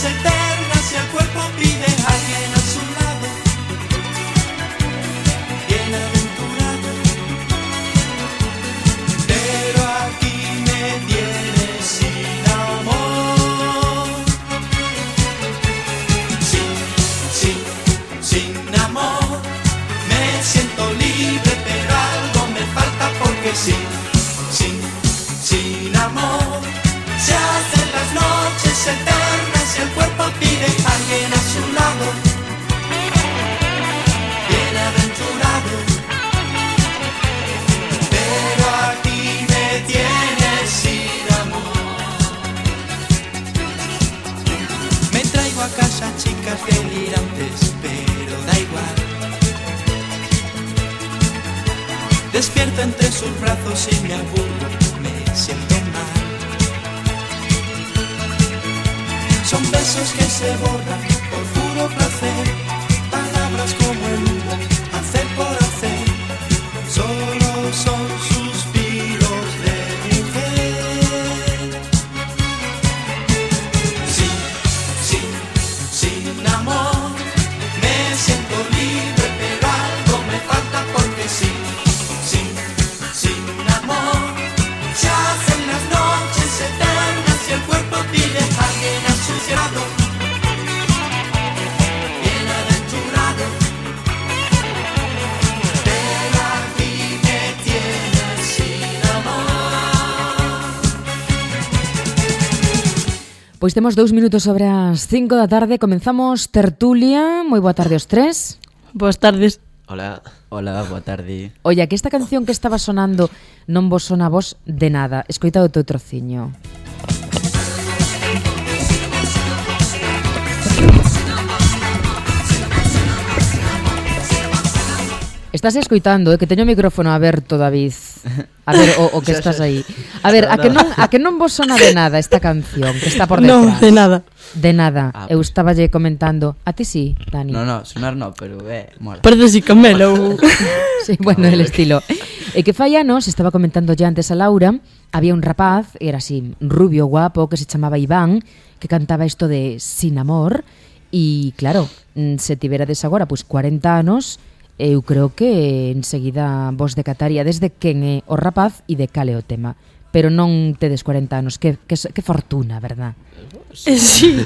noches eternas y el cuerpo pide a alguien a su lado, bienaventurado. Pero aquí me tienes sin amor, sin amor. Me siento libre, pero algo me falta porque sin amor se hacen las noches eternas y el cuerpo pide a alguien a su lado, bienaventurado. Pero aquí me tienes sin amor. Me traigo a casa chicas delirantes, pero da igual. Despierto entre sus brazos y me aburro, me siento mal. Son besos que se borran por puro placer, palabras como el humo, hacer por hacer, solo son suspiros de mujer. Sin amor, me siento libre, pero algo me falta porque sin amor se hacen las noches eternas y el cuerpo pide a alguien a su lado, bienaventurado. Pero aquí me tienes sin amor. Pois temos 2 minutos sobre as 5 da tarde. Comenzamos tertulia. Moi boa tarde aos tres. Boas tardes. Hola, boa tarde. Olla, que esta canción que estaba sonando non vos sona a vos de nada. Escoita o teu trociño. Estás escoitando, que teño o micrófono aberto, David. A ver, o que estás aí. A ver, a que non vos sona de nada esta canción que está por detrás? Non, de nada. De nada. Ah, Eu estaballe comentando. A ti sí, Dani. No, sonar no, pero mola. Parece así camelo. Sí, bueno, el estilo. E que fai anos, estaba comentando ya antes a Laura, había un rapaz, era así, rubio, guapo, que se chamaba Iván, que cantaba isto de Sin Amor, e claro, se tiverades agora, pois 40 anos, eu creo que enseguida vos decataríades de quen é o rapaz e de cal é o tema. Pero non tedes 40 anos, que fortuna, verdad? Sí.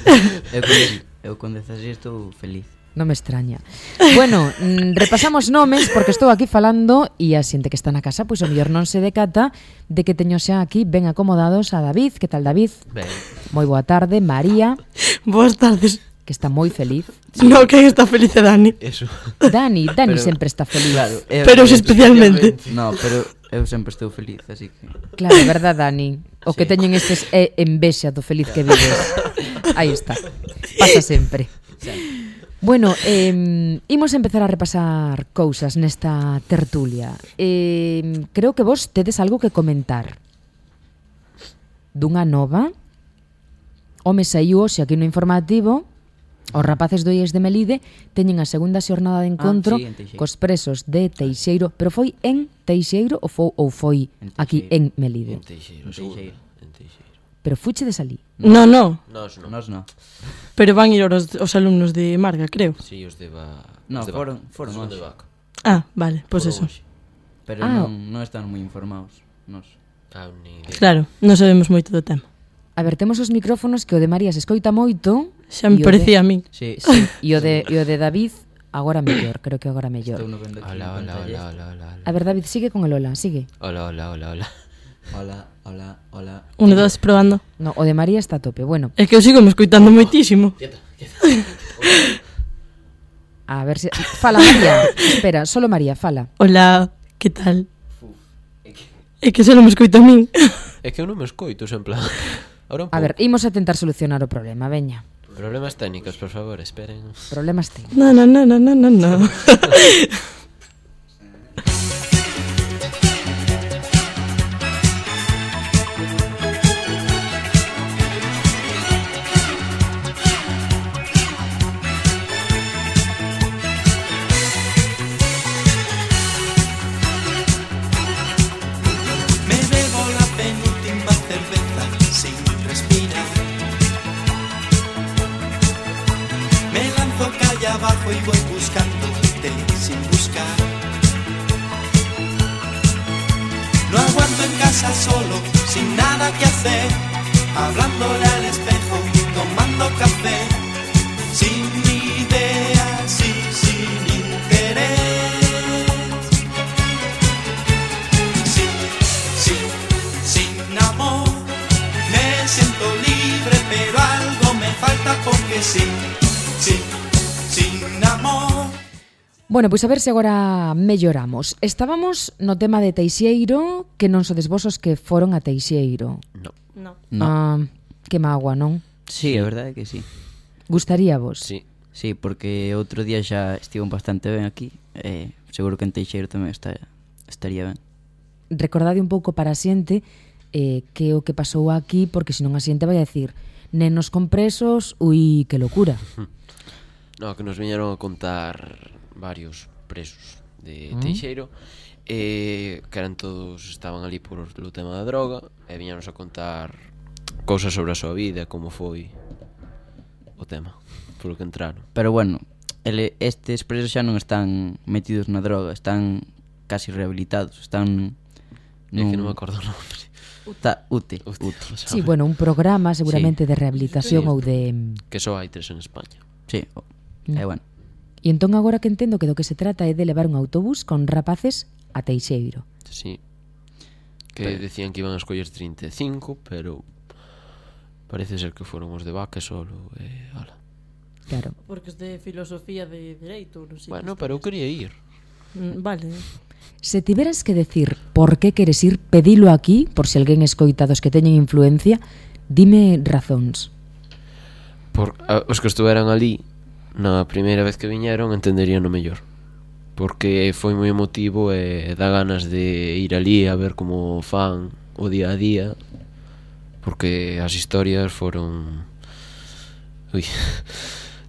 Eu con 16 estou feliz. Non me extraña. Bueno, repasamos nomes porque estou aquí falando e a xente que está na casa, pois o mellor non se decata de que teño xa aquí ben acomodados a David. Que tal, David? Ben. Moi boa tarde. María, Boas tardes. que está moi feliz. No, que está feliz é Dani. Eso. Dani Pero- sempre está feliz. Claro, Pero especialmente. No, pero eu sempre estou feliz, así que Claro, é verdad, Dani. O que teñen estes é envexa do feliz que vives. Aí está. Pasa sempre. Bueno, imos empezar a repasar cousas nesta tertulia. Creo que vos tedes algo que comentar. Dunha nova. Home saiu hoxe aquí no informativo. Os rapaces do IES de Melide teñen a segunda xornada de encontro sí, en Teixeiro. cos presos de Teixeiro. Pero foi en Teixeiro ou foi En aquí Teixeiro. en Melide? En Teixeiro, Teixeiro. En Teixeiro. Pero fuche de salí. No, no. Nos non. Nos no. Pero van ir os alumnos de Marga, creo. Si, os de No, os de foron Os hoxe. de Vaca. Ah, vale, pois Foron eso. hoxe. Pero Ah. non están moi informados. Nos. Ni idea. Claro, non sabemos moito do tema. A ver, temos os micrófonos que o de María se escoita moito. Xa me e o parecía a min. Sí, Sí, e o de David agora mellor, creo que agora mellor. estou no vendo aquí. Hola, en hola, pantalla. hola, hola, hola. A ver, David, sigue con el hola, sigue. Hola, hola, hola, hola. Hola. 1, 2, probando. No, o de María está a tope. Bueno, É que eu sigo me escoitando moitísimo. a ver se... Fala, María. Espera, solo María, fala. Hola, que tal? É que só non me escoito a min. É que eu non me escoito, en plan. Ahora un A ver, pouco. imos a tentar solucionar o problema, veña. Problemas técnicos, por favor, esperen. Problemas ten. No. Me bebo la penúltima cerveza sin respirar. Me lanzo calle abajo y voy buscándote sin buscar. No aguanto en casa solo, sin nada que hacer, hablándole al espejo, tomando café, sin ideas y sin interés. Sin amor, me siento libre, pero algo me falta porque sin amor. Bueno, pois a ver se agora melloramos. Estábamos no tema de Teixeiro, que non sodes vos os que foron a Teixeiro. No. No. No. Que mágoa, non? Sí, é verdade que sí. Gustaría vos? Sí. Sí, porque outro día xa estivo bastante ben aquí. Seguro que en Teixeiro tamén estaría ben. Recordade un pouco para a xente que o que pasou aquí, porque senón a xente vai a decir nenos con presos, ui, que locura. No, que nos viñeron a contar varios presos de Teixeiro, que eran todos, estaban ali por o tema da droga, e viñanos a contar cousas sobre a súa vida, como foi o tema polo que entraron. Pero bueno, estes presos xa non están metidos na droga, están casi rehabilitados, están É que non me acordo o nome. UTE. Sí, bueno, un programa seguramente de rehabilitación Sí. ou de... Que só hai 3 en España. Sí, bueno. E entón agora que entendo que do que se trata é de levar un autobús con rapaces a Teixeiro. Sí. Que decían que iban a escoller 35, pero parece ser que foron os de Vaca solo, ala. Claro. Porque es de filosofía de dereito, non sei. Bueno, pero eu quería ir. Vale. Se tiveras que decir por que queres ir, pedilo aquí, por se alguén escoita dos que teñen influencia, dime razóns. Os que estuveran ali na primeira vez que viñeron entenderían o mellor, porque foi moi emotivo e dá ganas de ir ali a ver como fan o día a día, porque as historias foron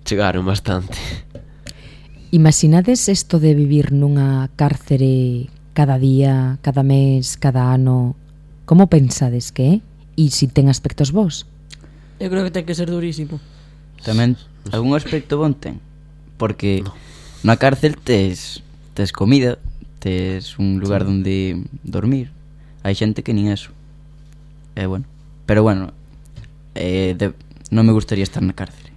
chegaron bastante. Imaginades isto de vivir nunha cárcere cada día, cada mes, cada ano? Como pensades que é? E se ten aspectos vos? Eu creo que ten que ser durísimo. Tamén algún aspecto bon ten, porque na cárcel tes comida, tes un lugar onde dormir. Hai xente que nin eso. Bueno, pero bueno, non me gustaría estar na cárcere,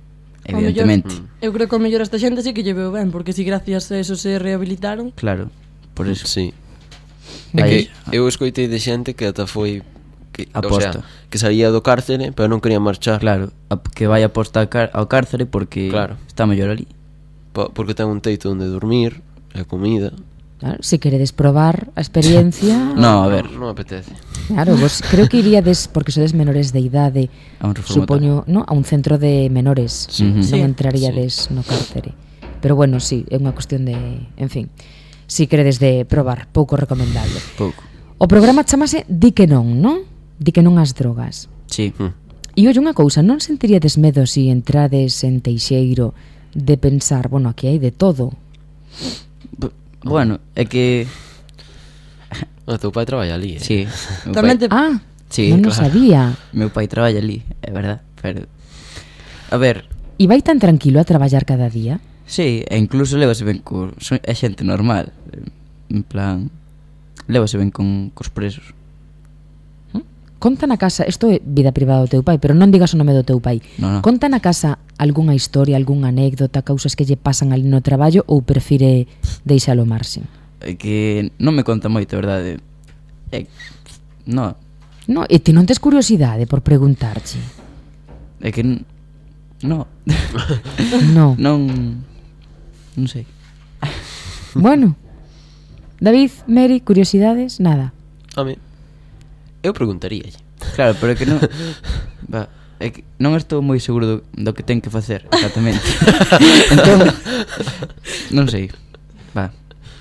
evidentemente. Eu creo que o mellor esta xente sí que lle veo ben, porque si gracias a eso se rehabilitaron. Claro, por eso. Sí. É que eu escoitei de xente que ata foi Aposta. O sea, que salía do cárcere, pero non quería marchar. Claro, que vai aposta ao cárcere porque está mellor ali. Porque ten un teito onde dormir, e comida. Claro, se queredes probar a experiencia... No, a ver. Non apetece. Claro, vos creo que iríades, porque sodes menores de idade, a un reformatorio. supoño, no, a un centro de menores. Non entraríades no cárcere. Pero bueno, sí, é unha cuestión de... En fin, si queredes de probar, pouco recomendable. Pouco. O programa chamase Di que non, non? Di que non ás drogas. Sí. E olle unha cousa, non sentiríades medo se entrades en Teixeiro de pensar, bueno, aquí hai de todo? Bueno, é que... O teu pai traballa ali, Sí. Tamén te... Sí, non o sabía. Meu pai traballa ali, é verdad, pero... A ver... E vai tan tranquilo a traballar cada día? Sí, e incluso levase ben é xente normal. En plan... Levase ben cos presos. Conta na casa, isto é vida privada do teu pai, pero non digas o nome do teu pai. No. Conta na casa algunha historia, algunha anécdota, causas que lle pasan ali no traballo ou prefire deixalo marxen? É que non me conta moito, verdade. No. No, e ti non tes curiosidade por preguntarche? É que no. No. Non sei. Bueno. David, Mary, curiosidades? Nada. A mí eu preguntaríalle. Claro, pero é que non... É que non estou moi seguro do que ten que facer exactamente. Entón, non sei.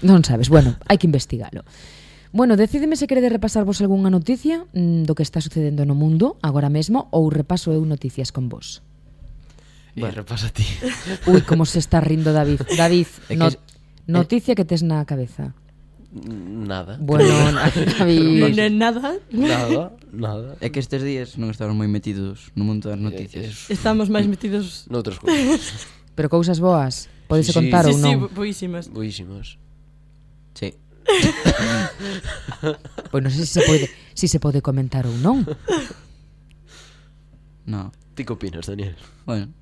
Non sabes, bueno, hai que investigalo. Bueno, decideme se queredes repasarvos algunha noticia do que está sucedendo no mundo agora mesmo ou repaso eu noticias con vos. Repasa ti. Ui, como se está rindo David. David, noticia que tes na cabeza. Nada. Bueno, David. Nada. Nada. É que estes días non estamos moi metidos no mundo das noticias. Estamos máis metidos noutras cousas. Pero cousas boas, podese Sí, sí. contar Sí, ou sí, non? boísimas. Boísimas. Sí. Pois non sei se se pode comentar ou non. No. Ti que opinas, Daniel? Bueno.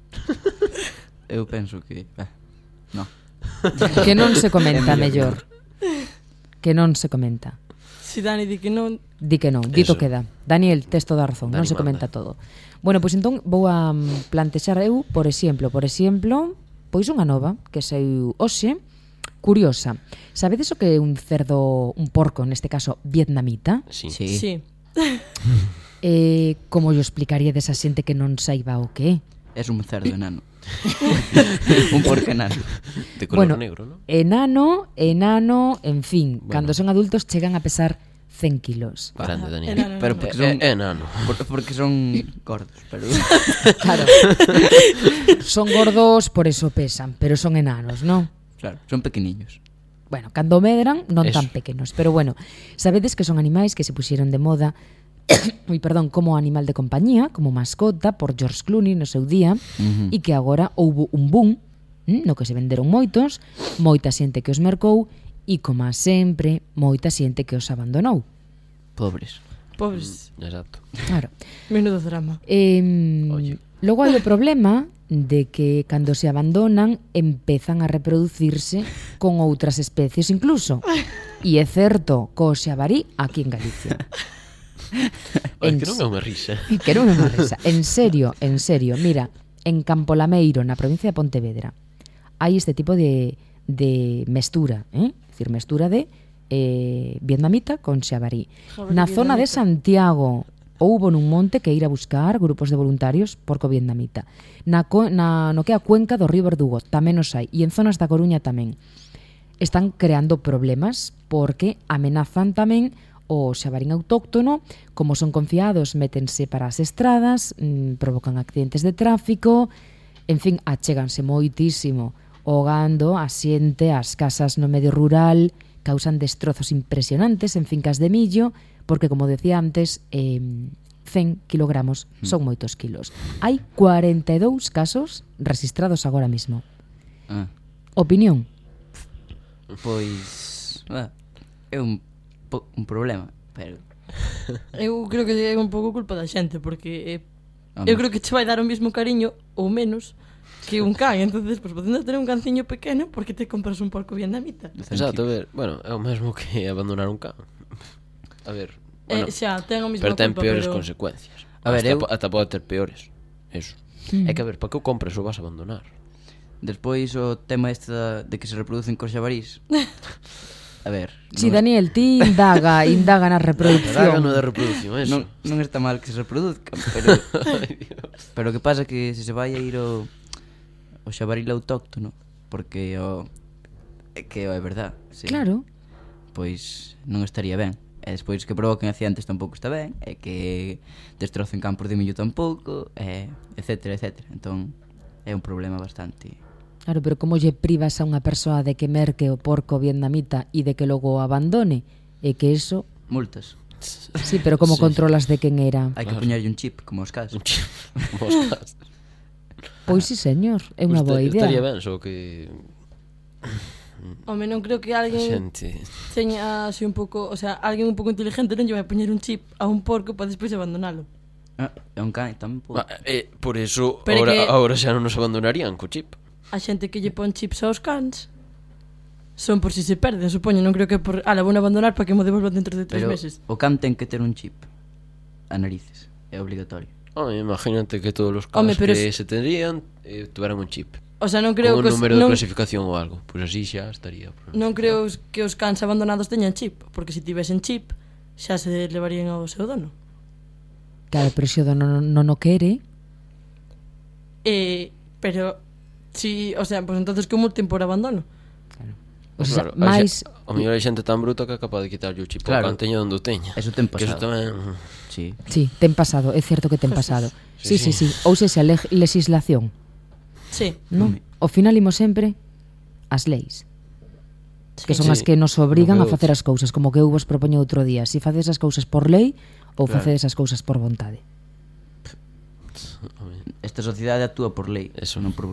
Eu penso que... no. Que non se comenta É mellor. Que non se comenta. Si Dani di que non... Di que non, dito Eso. queda. Daniel, tes toda a razón, non Dani se comenta manda. todo. Bueno, pois entón vou a plantexar eu, por exemplo, pois unha nova que saiu hoxe, curiosa. Sabedes o que é un cerdo, un porco, neste caso vietnamita? Sí. Sí. Sí. Como yo explicaría desa xente que non saiba o que é? Es un cerdo enano. Un porco enano. De color Bueno, negro, ¿no? enano, en fin, Bueno. cando son adultos chegan a pesar 100 kilos. Grande, Daniel. Enano, Pero enano. porque son... Enano. Porque son gordos, pero... Claro. Son gordos, por eso pesan, pero son enanos, ¿no? Claro, son pequeniños. Bueno, cando medran, non Eso. tan pequenos. Pero bueno, sabedes que son animais que se puxeron de moda como animal de compañía, como mascota, por George Clooney no seu día, e que agora houbo un boom no que se venderon moitos, moita xente que os mercou e, como sempre, moita xente que os abandonou. Pobres. Pobres. Exacto. Claro. Menudo drama. Oye. Logo hai o problema de que cando se abandonan empezan a reproducirse con outras especies incluso. E é certo, co xabarí aquí en Galicia. Oye, que non é unha risa. Que non é unha risa. En serio, mira, en Campolameiro, na provincia de Pontevedra, hai este tipo de mestura, É dicir, mestura de vietnamita con xabarí. Jabalí Na zona de vietnamita. Santiago houbo nun monte que ir a buscar grupos de voluntarios porco vietnamita. No que é a cuenca do río Verdugo tamén os hai, e en zonas da Coruña tamén. Están creando problemas porque amenazan tamén o xabarín autóctono, como son confiados, métense para as estradas, provocan accidentes de tráfico, en fin, achéganse moitísimo o gando, a xente, as casas no medio rural, causan destrozos impresionantes en fincas de millo, porque, como decía antes, 100 kilogramos son moitos kilos. Hai 42 casos registrados agora mismo. Ah, Opinión? pois... é un problema, pero... Eu creo que é un pouco culpa da xente, porque Home. eu creo que che vai dar o mismo cariño ou menos que un can. Entonces, pues, podendo ter un canciño pequeno, porque te compras un porco vietnamita? Exacto, a ver, bueno, é o mesmo que abandonar un can. A ver, bueno, Xa, ten a mesma pero ten culpa, peores pero... consecuencias. A ver, Ata pode ter peores. Eso. É que, a ver, para que o compres ou vas a abandonar? Despois o tema este de que se reproducen cos xabarís. A ver... Si, non- Daniel, ti indaga na Daga reproducción. no de reproducción, eso. non está mal que se reproduzcan, pero... pero o que pasa que se vai a ir o xabaril autóctono, porque que é verdad, sí. Claro. Pois non estaría ben. E despois que provoquen accidentes tampouco está ben, e que destrocen campos de millo tampouco, etcétera, etcétera. Entón é un problema bastante... Claro, pero como lle privas a unha persoa de que merque o porco vietnamita e de que logo o abandone? É que eso... Multas. Sí, pero como Sí. controlas de quen era? Hai que Claro. poñerlle un chip, como os casos. Moscas. Pois sí, señor, é unha boa idea. Estaría ben, só que Home, non creo que a alguén xente... teña así un pouco, o sea, alguén un pouco inteligente non lle vai poñer un chip a un porco para despois abandonalo. É un can tamén pode. Por eso, Pero que- ahora xa non nos abandonarían co chip. A xente que lle pon chips aos cans son por si se perden, supoño, non creo que por, la vou abandonar para que mo devolvan dentro de 3 Pero meses. o can ten que ter un chip a narices, é obligatorio. Imagínate que todos os Home, casos pero que es- se tendrían tuveran un chip. O sea, non creo Con un que os, número de non, clasificación ou algo. Pois así xa estaría. non creo que os cans abandonados teñan chip, porque se tivesen chip xa se levarían ao seu dono. Claro, pero se o dono non o quere, Pero si, o sea, pues entonces que multen por abandono. o sea, Claro, máis... O mellor hai xente tan bruta que é capaz de quitarlle o chip Claro. ao can teña onde o teña. Eso ten Que eso pasado. tamén... Sí. Sí, ten pasado, é certo que ten pasado. Sí, sí, Sí, sí. Ou sexa, legislación, Sí. non? Ao final imos sempre as leis, que son Sí. as que nos obrigan a Non veo facer as cousas, como que eu vos propoño outro día, si facedes as cousas por lei ou Claro. facedes as cousas por vontade. Esta sociedade actúa por lei, Eso. non por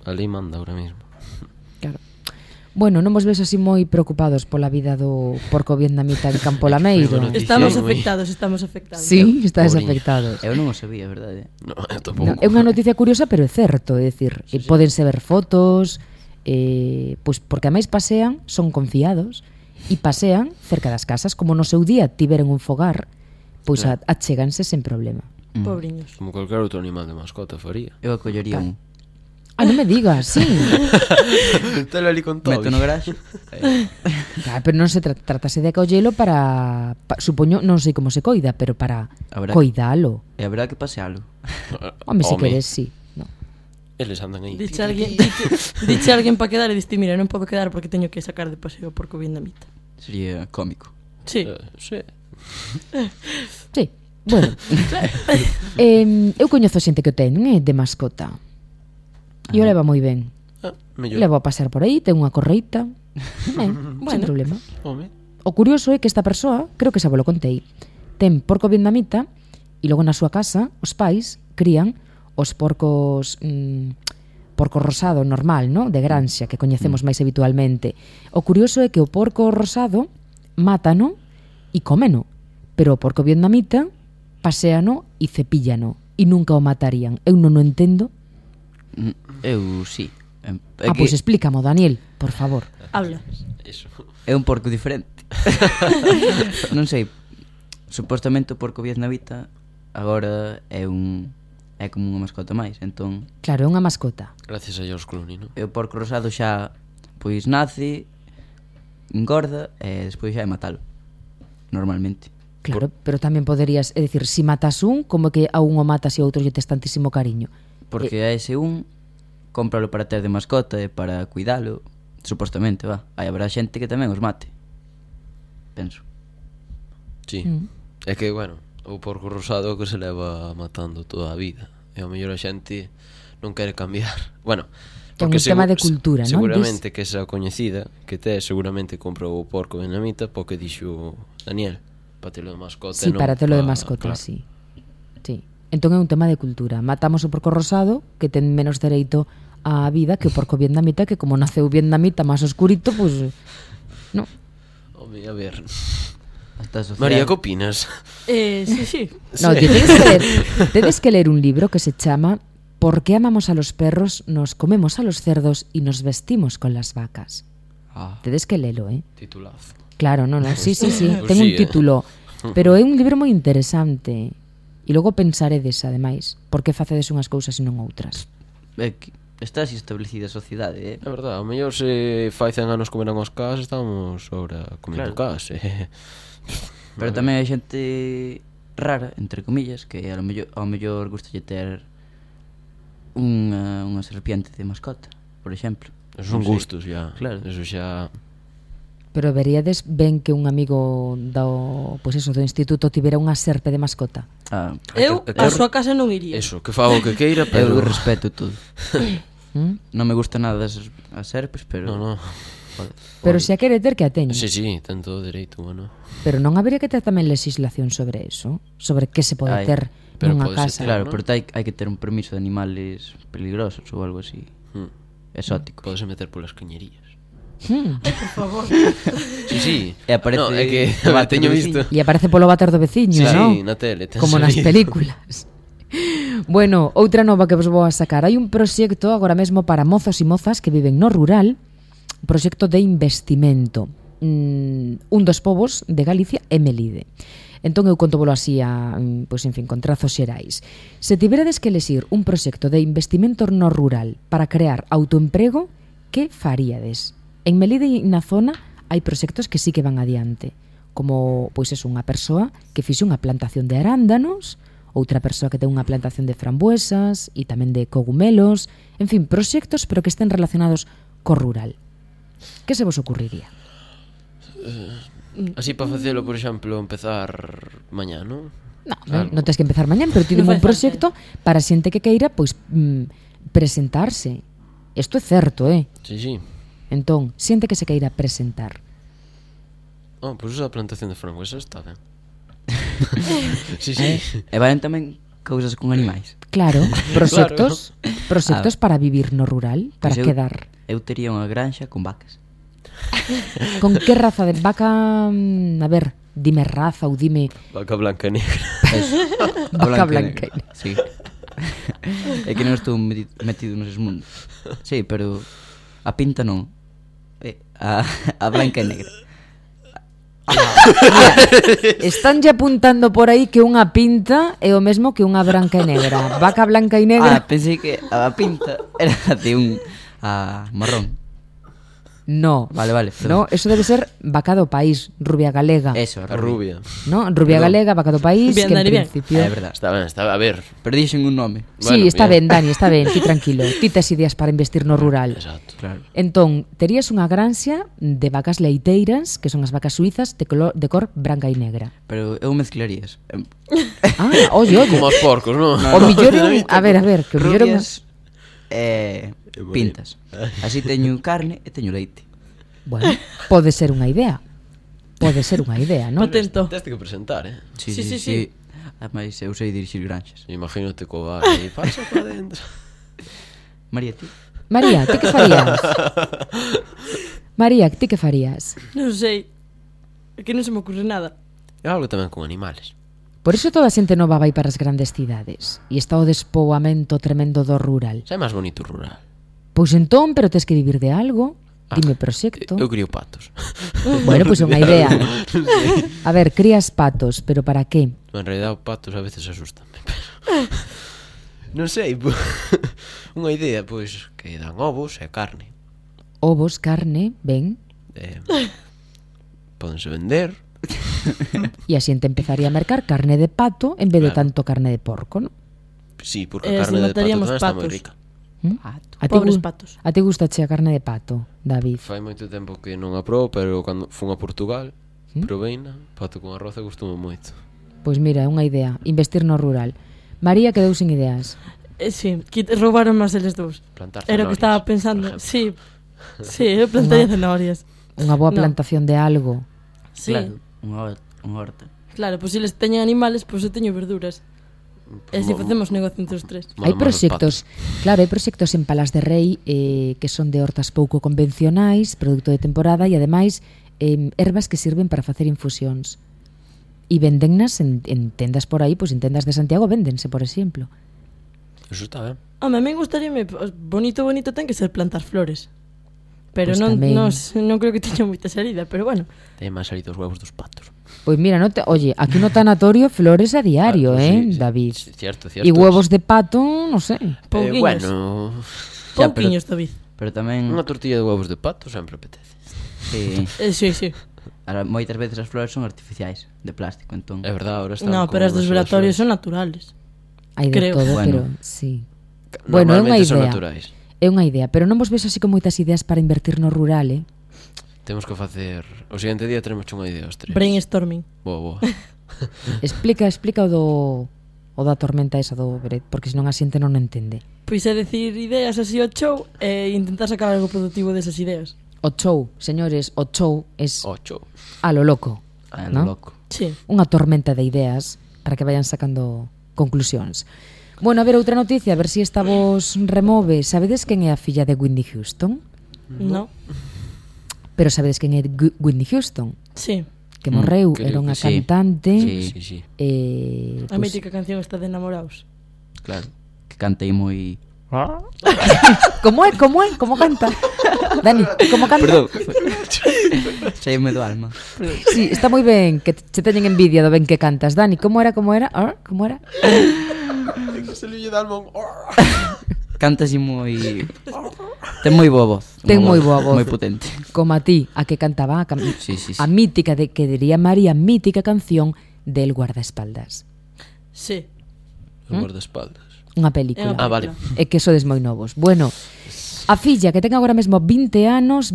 A lei manda ahora mismo. Claro. Bueno, non vos ves así moi preocupados pola vida do porco vietnamita en Campo Lameiro? Foi unha noticia Estamos moi- afectados. Sí, estádes Pobriño. afectados. Eu non o sabía, verdade? No, eu No, tampouco. é unha noticia curiosa, pero é certo, é dicir, pódense ver fotos, pois porque a máis pasean, son confiados e pasean cerca das casas, como no seu día tiveron un fogar, pois achéganse sen problema. Pobriños. Como cualquier outro animal de mascota faría. Eu acollería un. Ah, non me digas, sí. Telo ali con todo. Meto no garaxe. Claro, pero non se tratase de acollelo para supoño, non sei como se coida, pero para Habrá- coidalo. E haberá que pasealo. Home, se queres, sí. No. Eles andan aí. Diche alguén para quedar e diste, mira, non podo quedar porque teño que sacar de paseo o porco vietnamita. Sería cómico. Sí. Sí. Sí. Bueno. Eu coñezo xente que o ten, de mascota. E o leva moi ben. Mellor. Levo a pasar por aí, ten unha correita. Sen problema. Home. O curioso é que esta persoa, creo que xa vos lo contei, ten porco vietnamita e logo na súa casa os pais crían os porcos porco rosado normal, ¿no? De granxa, que coñecemos máis habitualmente. O curioso é que o porco rosado mátano e cómeno, pero o porco vietnamita paséano e cepíllano e nunca o matarían. Eu non o entendo. Eu sí. É Pois explícamo, Daniel, por favor. Habla. Eso. É un porco diferente. Non sei. Supostamente o porco vietnamita agora é como unha mascota máis. Entón, Claro, é unha mascota. Gracias a George Clooney, non? o porco rosado xa pois nace, engorda e despois xa é matalo. Normalmente. Claro, pero tamén poderías, é dicir, si matas un, como que a un o matas e a outro lle tes tantísimo cariño. Porque a ese un cómpralo para ter de mascota e para cuidalo. Supostamente, va. Aí habrá xente que tamén os mate. Penso. Sí. É que, bueno, o porco rosado é o que se leva matando toda a vida. E ao mellor a xente non quere cambiar. Bueno, Ten un tema de cultura, non? Seguramente que esa coñecida que te seguramente comprou o porco vietnamita porque dixo Daniel, para telo de mascota. Sí, non para telo de pa- mascota, claro. sí. Sí. Entón é un tema de cultura. Matamos o porco rosado, que ten menos dereito á vida que o porco vietnamita, que como naceu vietnamita máis oscurito, pues no. Home, a ver. Hasta a sociedade. María, que opinas? Sí. No, Sí. tedes que leer un libro que se chama ¿Por qué amamos a los perros, nos comemos a los cerdos y nos vestimos con las vacas? Ah, Tedes que lelo, Titulazo. Claro, no, sí. Pues Ten un sí, título, pero é un libro moi interesante. E logo pensaredes, ademais, por que facedes unhas cousas e non outras. é que está así establecida a sociedade, É verdade, ao mellor se fai 100 anos comeran os cas, estamos ahora comendo Claro. cas. Pero tamén hai xente rara, entre comillas, que ao mellor gustalle ter unha serpiente de mascota, por exemplo. Esos son Non sei. gustos, ya. Claro. Eso xa... Pero veríades ben que un amigo do instituto tivera unha serpe de mascota. Ah, Eu a súa casa non iría. Eso, que faga o que queira, eu pero... respeto todo. ¿Mm? Non me gusta nada as serpes, pero... No. Pero se a quere ter que a teña. Sí, ten todo dereito, bueno. Pero non habería que ter tamén legislación sobre eso, sobre que se pode Ai, ter pero nunha pódese casa. ter, Claro, ¿no? pero hai que ter un permiso de animales peligrosos ou algo así. Exóticos. Podese meter polas cañerías. Por favor. Sí. E aparece No, é que o váter teño do visto. E aparece polo váter do veciño, Sí, non? na tele. ten Como nas salido. películas. Bueno, outra nova que vos vou a sacar. Hai un proxecto agora mesmo para mozos e mozas que viven no rural, un proxecto de investimento. Un dos povos de Galicia é Melide. Entón eu conto así pois, en fin, con trazos xerais. Se tiveredes que elexir un proxecto de investimento no rural para crear autoemprego, que faríades? En Melide e na zona hai proxectos que sí que van adiante, como pois é unha persoa que fixe unha plantación de arándanos, outra persoa que ten unha plantación de frambuesas e tamén de cogumelos, en fin, proxectos pero que estén relacionados co rural. Que se vos ocurriría? Así para facelo, por exemplo, empezar mañá, non? Non tens que empezar mañán, pero tienen Non un fai proxecto para xente que queira pois presentarse. Isto é certo, Sí. Entón, xente que se queira presentar. Oh, pois esa plantación de frambuesas está ben. Sí. E valen tamén cousas con animais. Claro, proxectos para vivir no rural, para Pois quedar. Eu tería unha granxa con vacas. Con que raza de vaca, a ver, dime raza ou dime Vaca blanca e negra. Eso. vaca blanca. Sí. É que non estou metido neses mundos. Sí, pero a pinta non. A blanca e negra. Estánlle apuntando por aí que unha pinta é o mesmo que unha branca e negra. Vaca blanca e negra. Pensei que a pinta era de un marrón. No. Vale, No, eso debe ser vaca do país, rubia galega. Eso, A rubia. No, rubia galega, vaca do país, Bien, que en Dani, bien. principio. É verdad. Está ben, a ver. Pero dixen un nome. Sí, Bueno, está bien. ben, Dani, está ben, ti tranquilo. Ti tes ideas para investir no rural. Exacto. Claro. Entón, terías unha granxa de vacas leiteiras, que son as vacas suizas de cor branca e negra. Pero eu mezclarías. Oye. Como os porcos, non? O millor é un... A ver, que o millor é un... Rubias pintas. Así teño carne e teño leite. Bueno, pode ser unha idea. Pode ser unha idea, non? Patento. Teste que presentar, Sí. Ademais, eu sei dirixir granxas. Imagínate co bar e pasa para dentro. María, ti? María, ti que farías? María, ti que farías? Non sei. É que non se me ocurre nada. É algo tamén con animales. Por iso toda a xente nova vai para as grandes cidades e está o despoboamento tremendo do rural. Xa é máis bonito o rural. Pois entón, pero tes que vivir de algo. Dime proxecto. Eu crio patos. Bueno, pois é unha idea. A ver, crías patos, pero para qué? En realidad, os patos a veces asustan-me, pero... Non sei, unha idea, pois, que dan ovos e carne. Ovos, carne, ben. Pódense vender. E a xente empezaría a mercar carne de pato en vez de Claro. tanto carne de porco, non? Sí, porque a Se carne de pato mataríamos tamén está moi patos. rica. A ti Pobres gu- patos. A ti gusta a carne de pato, David? Fai moito tempo que non a probo, pero cando fun a Portugal, probeina, pato con arroz e gustoume moito. Pois mira, é unha idea, investir no rural. María quedou sin ideas. Sí, roubaron máis eles dous. Plantar Era o que zanahorias, estaba por pensando. ejemplo. Sí, eu plantaría cenorias. Unha boa No. plantación de algo. Sí, Claro, unha horta. claro, pois se eles teñen animales, pois eu teño verduras. E se Mo- facemos negocio entre os tres. Hai Molamos os proxectos, claro, hai proxectos en Palas de Rei que son de hortas pouco convencionais, produto de temporada e ademais ervas que sirven para facer infusións. E vendennas en tendas por aí, pois en tendas de Santiago véndense, por exemplo. Eso está ben. Home, a mí gustaríame, bonito ten que ser plantar flores. Pero Pois non, tamén. non creo que teña moita salida, pero bueno. Ten máis salido os huevos dos patos. Pois mira, oye, aquí no tanatorio flores a diario, Sí, sí, David? sí, Cierto. E huevos de pato, non sei. Pouquiños. Bueno, Xa, Pouquiños, David. Pero tamén unha tortilla de huevos de pato sempre apetece. sí, Sí. ahora, moitas veces as flores son artificiais, de plástico, entón. É verdade, ahora están No, con pero as dos as velatorios flores. son naturales. Hai de Creo. todo, Bueno. pero sí. Bueno, é unha Normalmente son idea. naturais. É unha idea, pero non vos ves así con moitas ideas para invertir no rural, Temos que facer... O seguinte día tenemos unha idea os tres. Brainstorming. Boa. Explica o da tormenta esa do Bret, porque senón a xente non entende. Pois é decir ideas así ao show e intentar sacar algo productivo desas ideas. O show, señores, o show es 8. a lo loco, Ah, ¿no? loco. Sí. Unha tormenta de ideas para que vayan sacando conclusións. Bueno, a ver, outra noticia, a ver se esta vos remove. Sabedes quen é a filla de Whitney Houston? No. Pero sabedes quen é Whitney Houston? Sí. Que morreu, creo era unha que sí. cantante. Sí. A Pois, mítica canción está de enamorados. Claro. Que cantei moi... como é? Como canta? Dani, como canta? Perdón. Saíme do alma. Sí, está moi ben, que che teñen envidia do ben que cantas. Dani, como era? Como era? Se le lle dalmón. Canta así moi... Ten moi boa voz. Ten Unha moi boa voz. Moi potente. Como a ti, a que cantaba Sí. a mítica, que diría María, mítica canción del guardaespaldas. Sí. Os guardaespaldas. Unha película. Ah, vale. É que sodes moi novos. Bueno, a filla que ten agora mesmo 20 anos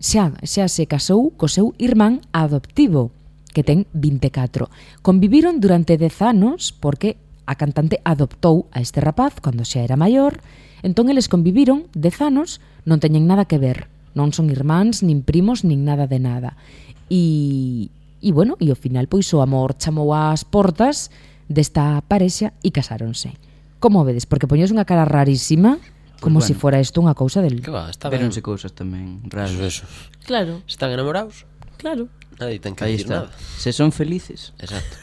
xa se casou co seu irmán adoptivo, que ten 24. Conviviron durante 10 anos porque a cantante adoptou a este rapaz cando xa era maior. Entón eles conviviron 10 anos, non teñen nada que ver. Non son irmáns, nin primos, nin nada de nada. E bueno, e ao final pois o amor chamou ás portas desta parexa e casáronse. Como vedes? Porque poñes unha cara rarísima, como Pues se bueno. fora isto unha cousa del... Que va, está ben. Veronse cousas tamén raras. Eso. Claro, Están enamorados, claro. nadie ten que Aí decir está. nada. Se son felices, Exacto.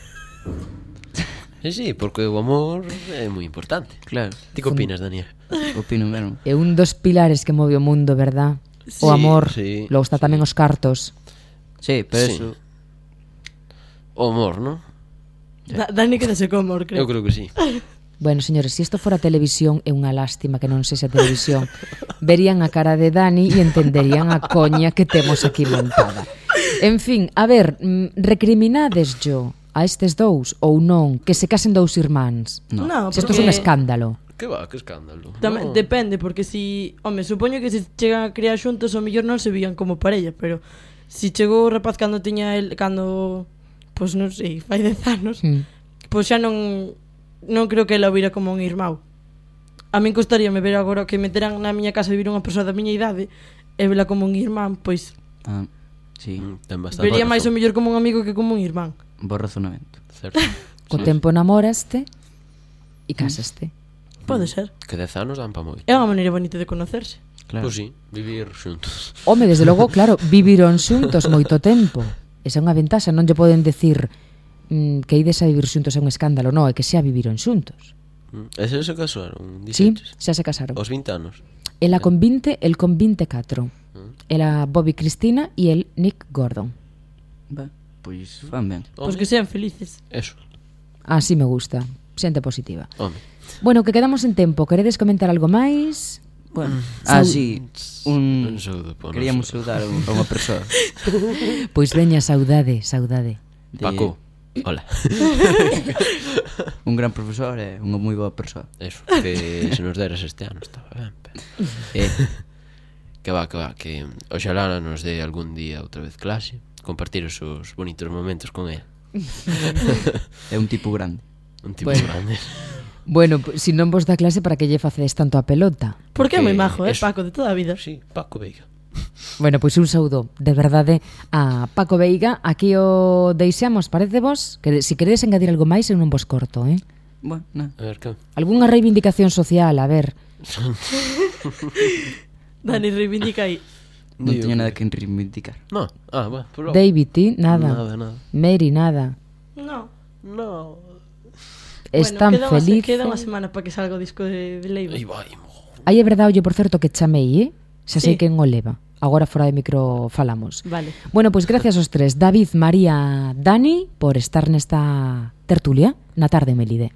Sí, porque o amor é moi importante. claro. Ti que opinas, Daniel? Opino mesmo. É un dos pilares que move o mundo, verdad? Sí, O amor, sí, logo está tamén os cartos. Sí, pero Sí. eso... O amor, non? Dani quedase co amor, creo. Eu creo que sí. Bueno, señores, se isto fora televisión, é unha lástima que non sexa televisión. Verían a cara de Dani e entenderían a coña que temos aquí montada. En fin, a ver, recriminades yo a estes dous ou non que se casen dous irmáns? No, Se isto é un escándalo. Que va, que escándalo. Tamén, No. depende, porque si... Home, supoño que se chegan a criar xuntos o mellor non se vían como parella, pero si chegou o rapaz cando tiña el... Cando... Pois non sei, fai 10 anos, pois xa non creo que ela o vira como un irmão. A min costaríame ver agora que meteran na miña casa vivir unha persoa da miña idade e vela como un irmán, pois Ah, sí, Ten bastante vería máis o razón. mellor como un amigo que como un irmán. bo razonamento. Certo. Co tempo namoraste e casaste. Pode ser. Que 10 anos dan pa moi. É unha maneira bonita de conocerse. Claro. Pois sí, vivir xuntos. Home, desde logo, claro, viviron xuntos moito tempo. Esa é unha ventaxa, non lle poden decir que ides a vivir xuntos é un escándalo, non, é que xa viviron xuntos. E se casaron, Sí, dixeches? xa se casaron. Aos 20 anos. Ela con 20, el con 24. Ela Bobby Cristina e el Nick Gordon. Va, pois fan ben. Pois que sean felices. Eso. Así me gusta, xente positiva. Home. Bueno, que quedamos en tempo, queredes comentar algo máis? Bueno, Sau- sí, un... Un saúdo po Queríamos noso. saudar a unha persoa. Pois veña, saudade, saudade. de- Paco. Hola. Un gran profesor e unha moi boa persoa. Eso, que se nos deras este ano estaba ben. Eh, Que va, que oxalá nos dé algún día outra vez clase, compartir os seus bonitos momentos con él. é un tipo grande. Un tipo Bueno. grande. Bueno, si non vos dá clase, para que lle facedes tanto a pelota? Porque é moi majo, eso. Paco, de toda a vida. Sí, Paco Veiga. Bueno, pois un saúdo de verdade a Paco Veiga. Aquí o deixamos, parece vos? Que si queredes engadir algo máis, eu non vos corto, eh? Bueno, nada. A ver, que? Algúnha reivindicación social, a ver. Dani, reivindica aí. Non Digo teño nada que- que reivindicar. No, bueno, pues logo. David, ti, nada. Nada. Mary, nada. No. No. Están bueno, felices. Queda unha semana para que salga o disco de Leiva. Aí vai, Aí é verdade, oye, por certo, que chamei, eh? Xa sei Sí. quen o leva. Agora fora de micro falamos. Vale. Bueno, pois gracias aos tres, David, María, Dani, por estar nesta tertulia na tarde, Melide.